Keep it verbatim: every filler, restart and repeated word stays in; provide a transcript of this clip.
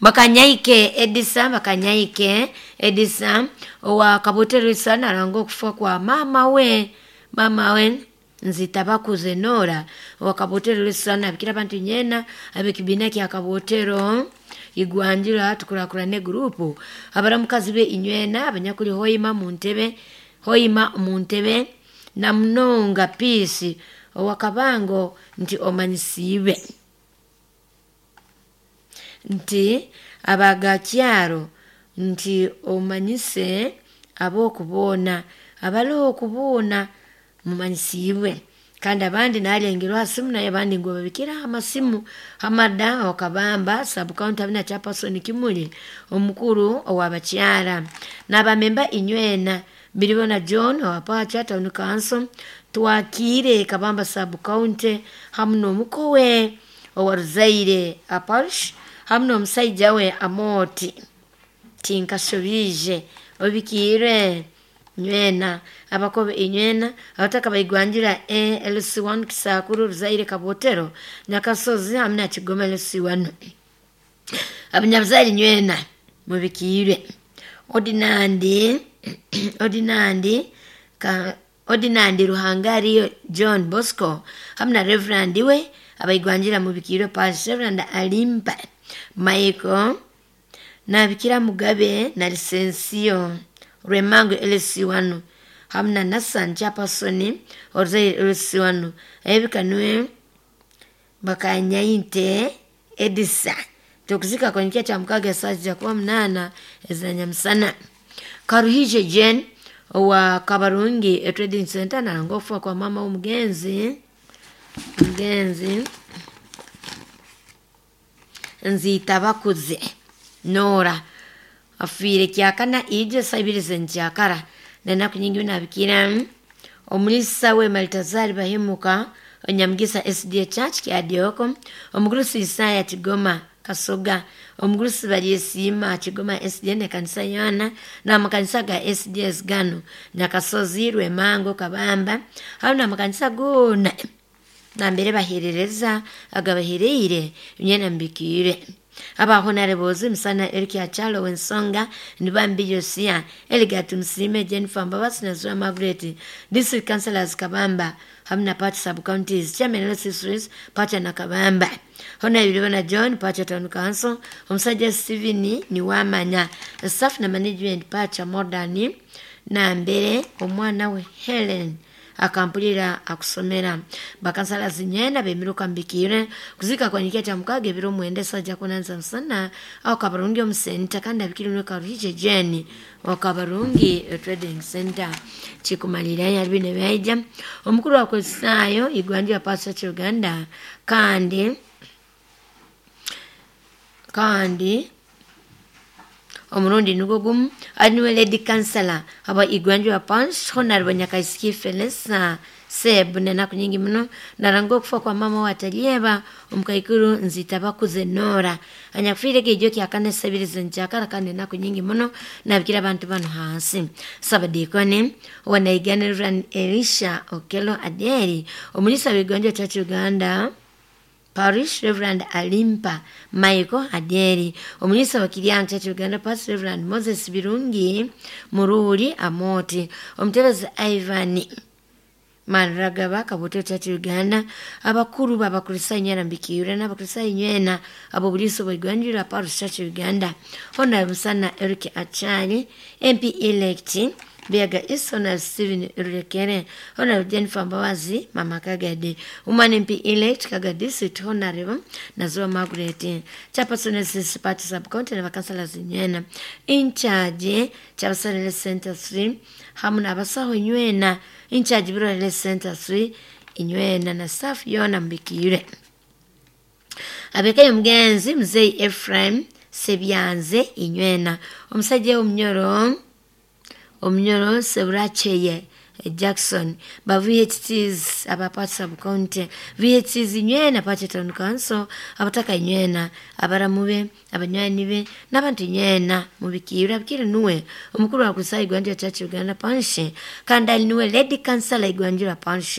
Bakanyaike Edisa, Bakanyaike Edisa owa Kaboteresa naranga okufa kwa mama we, mama we Nzita Bakuze Nora owa Kaboteresa, nabikira abantu nyena ab'ekibiina kya Kabotero Igwanjira tukurakurane gurupu, abaramukazi be inywena abanyakuli Hoima muntebe, Hoima muntebe na munonga Peace owa Kabango nti omanyisiibe nti abagakyaro nti omanyise ab'okuboona abali okubuuna mumanyisiibwe. Kandi abandi nalengerwa ha simu, naye abandi ngu babikira amasimu. Hamada Okabamba subcounty abina chairperson Kimuli omukuru ow'abakyara n'abamemba inywena Biribona John owa Pacha Town Council twakiire Kabamba subcounty hamu n'omukowe owa Ruzaire Aparish hamu n'omusaija we Amoti Tinkashobije obikiire nywena abakobe inywena abataka baigwanjira A L C one Kisakuru Ruzaire Kabotero Nyakasozi hamu na Kigoma L C one abanyabuzaire nywena mubikiire. Ordinandi Ordinandi ka Ordinandi Ruhangariyo John Bosco hamu na Reverend we abaigwanjira mubikiire Parish Reverend Alimpa Michael nabikira Mugabe na Lisensiyo Rwemango L C one hamu na Nassan Chairperson Oruzaire L C one ebikanwe Bakanyainte Edisa tukuzika kwenye cha mukaga saa kuba munana ezanyamusana. Karuhije Jane owa Kabarungi Trading Center naranga okufa kwa mama w'omugenzi mugenzi Nzita Bakuze Nora afiire kyakana ije sabiri zenjakara nenaku nyingi nabikira omulisa we Maltazari Bahemuka Onyamugisa S D A Church Kyadioko omugurusi Isaya Kigoma Kasoga omugurusi Balyesiima Kigoma S D A ne kanisa yona n'amakanisa ga S D S gano Nyakasozi Rwemango Kabamba hamu n'amakanisa gona nambere baherereza agabahereire nyena mbikiire. Abahonarebozi Musana Eric Achalo Wensonga Nibambi Yosia Eligatu Msime Jennifer Mbabasi na Zura Margaret District Councillors Kabamba hamu na Party Sub Counties Chairman L C Swiss Pacha na Kabamba Hona Ibiribona John Pacha Town Council omusajja Steven Niwamanya Staff na Management Pacha Modern na mbere omwana we Helen akampulira akusomera bakansala zinyena bemiruka mbikire kuzika kwa nikia cha mukage ebiro mwende saja kunanza msana au Kabarungi omusenta kandi abikiri Karuhije Jane wa Kabarungi Trading Center chikumalira yalibine baija omukuru wa Kristayo Igwanjira Pastor Church Uganda kandi kandi omurundi nugo gumu aniwe lady councillor aba Igwanjira Parish Honorable Nyakaisiki Felisa Seb nenaku nyingi muno naranga okufa kwa mama wa Talieba omukaikuru Nzita Bakuze Nora anyakufiire kijo kya kanisa ebiri zenjakara kandi enaku nyingi muno nabikira abantu bano hansi Sabadikoni wanaigana Reverend Elisha Okelo Aderi omulisa w'Igwanjira Church Uganda Parish Reverend Alimpa Michael Aderi omulisa wa Kiriang Church Uganda Parish Reverend Moses Birungi Mururi Amoti omutebezi Ivan Manragaba Kaboto Church Uganda abakuru b'Abakristayo nyena mbikiyura n'Abakristayo nyena abo buliso bw'Igwanjira Parish Church Uganda Honorable Musana Eric Achali M P elect Biaga East Honorable Steven Rurekere Honorable Jennifer Mbabazi Mama Kagadi Woman M P elect Kagadi District Honorable Nazua Margaret Chairperson S Party Sub County na bakansala zinywena in charge Chairperson Center three hamu n'abasaho nywena in charge Bureau Center three inywena na staff yona mbikire abekaye mugenzi Mzee Ephraim Sebyanze inywena omusajja omunyoro omunyoro Seburacheye Jackson ba V H Ts aba Party Sub County V H Ts inywena Party Town Council abataka inywena abaramube abanywani be n'abantu inywena mubikira bikire nuwe omukuru wa Kristayo Igwanjira Church Uganda Parish kandi ali nuwe Lady Councillor Igwanjira Parish.